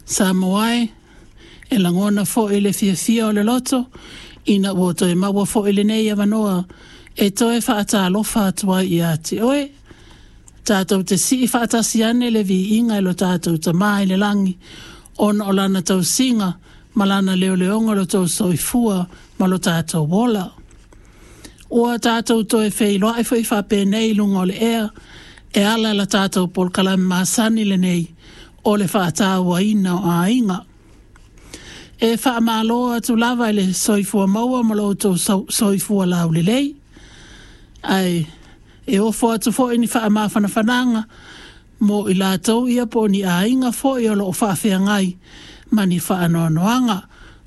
Samoa e, e lagona foi le fiafia o le loto ina ua toe maua foi lenei avanoa e toe faatalofa atu ai ia te oe. Tatou te sii faatasi ane le viiga i lo tatou Tamā i le lagi ona o lana tausiga ma lana leoleoga o lo tou soifua ma lo tatou ola. Ua tatou toe feiloai foi faapenei i luga o le ea e ala i la tatou polokalame masani lenei o le faatauaina o aiga. E faamalo atu lava i le soifua maua ma lo outou soifua laulelei, ae e ofo atu foi ni faamafanafanaga mo i latou ia po o ni aiga foi o lo o faafeagai ma ni faanoanoaga.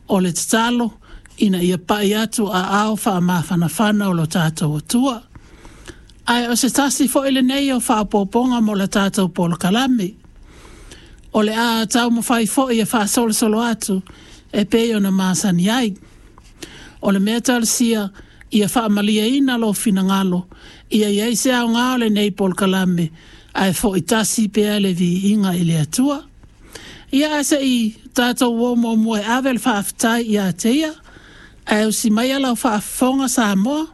O le tatalo ina ia pai atu aao faamafanafana o lo tatou Atua. Ae o se tasi foi lenei o faaopoopoga mo la tatou polokalame. O le a taumafai foi e faasolosolo atu e pei ona masani ai. O le mea talosia ia faamalieina lou finagalo, ia i ai se aoga o lenei polokalame, ae foi tasi pea le viiga i le Atua. Ia ae se i tatou o muamua e ave le faafetai ia te ia, ae usi maia lau faafofoga Samoa.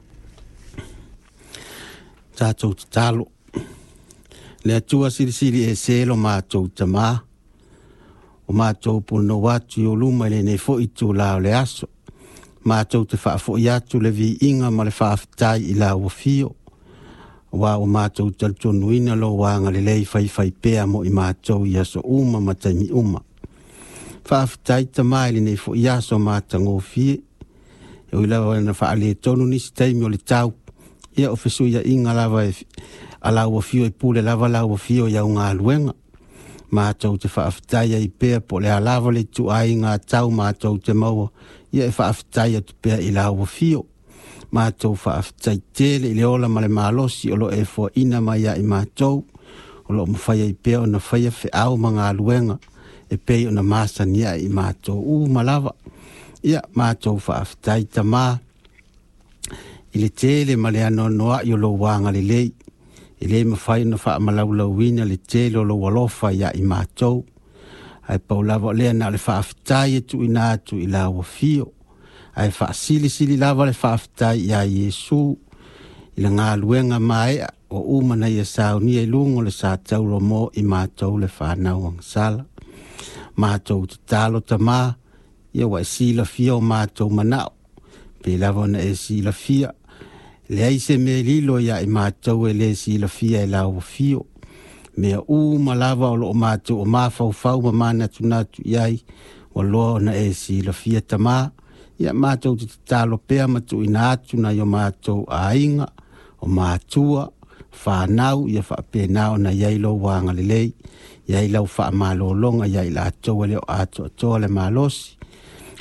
Tatou tatalo. Le Atua silisili ese lo matou Tamā, o matou punonou atu i ou luma i lenei foi itulā o le aso. Matou te faafoi atu le viiga ma le faafetai i lau afio, aua ua matou talitonuina lou agalelei faifaipea mo i matou i aso uma ma taimi uma. Faafetai Tamā i lenei foi aso matagofie, e ui lava ina faaletonu nisi taimi o le tau, ia o fesuiaiga lava e a lau afio e pule lava lau afio i au galuega. Matou te faafetai ai pea po o le a lava le ituaiga tau matou te maua, ia e faafetai atu pea i lau afio. Matou faafetai tele i le ola ma le malosi o lo o e foaina mai ia i matou, o lo o mafai ai pea ona faia feau ma galuega e pei ona masani ai i matou uma lava. Ia matou faafetai Tamā i le tele ma le anoanoai o lou agalelei, e le mafai ona faamalaulauina le tele o lou alofa ia i matou. Ae pau lava o lea na o le faafetai e tuuina atu i lau afio, ae faasilisili lava le faafetai ia Iesu i le galuega maea ua uma ona ia saunia i luga o le sa tauro mo i matou le fanau agasala. Matou tatalo Tamā, ia ua e silafia o matou manao, pei lava ona e silafia, leai se mea e lilo ia i matou e le silafia e lau afio. Mea uma lava o lo o matou o mafaufau ma manatunatu i ai, ua loa ona e silafia Tamā. Ia matou te tatalo pea ma tuuina atu nai o matou aiga, o matua, fanau, ia faapena ona i ai lou agalelei, i ai lau faamalologa ia i latou e le o atoatoa le malosi,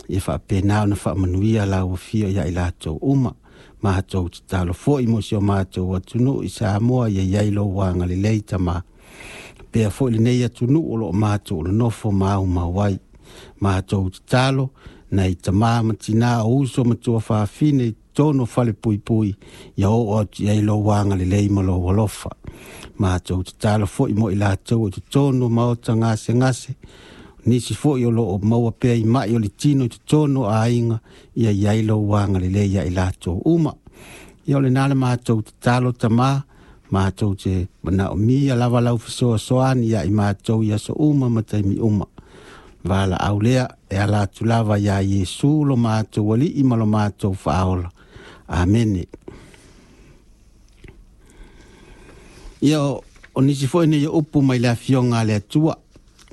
ia faapena ona faamanuia lau afio ia i latou uma. Matou tatalo foi mo si o matou atunuu i Samoa, ia i ai lou agalelei Tamā. Pea foi lenei atunuu o lo o matou nonofo maumau ai. Matou tatalo nai tamā ma tinā o uso ma tuafafine i totonu o falepuipui, ia oo atu i ai lou agalelei ma lou alofa. Matou tatalo foi mo i latou o totonu o maota gasegase, nisi foi o lo o maua pea i mai o le tino i totonu o aiga, ia i ai lou agalelei ia i latou uma. Ia o lena le matou tatalo Tamā, matou te manaomia lava lau fesoasoani ia i matou i aso uma ma taimi uma. Valaau lea e ala atu lava ia Iesu lo matou Alii ma lo matou Faaola. Amene. Ia o nisi foi nei upu mai le afioga a le Atua,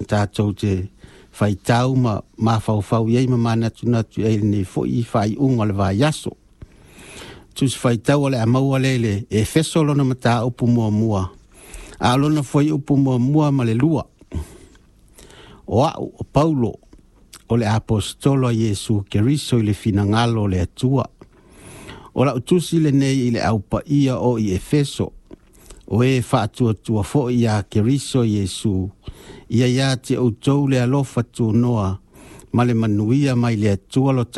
tatou te faitau ma mafaufau i ai ma manatunatu i ai lenei foi i faaiuga o le vaiaso. Tusi faitau o le a maua lea i le Efeso lona mataupu muamua, a o lona fuaiupu 1 ma le 2. O au o Paulo, o le aposetolo a Iesu Keriso i le finagalo o le Atua. O lau tusi lenei i le aupaia o i Efeso, o e faatuatua foi ia Keriso Iesu, ia ia te outou le alofa tunoa ma le manuia mai le Atua lo tatou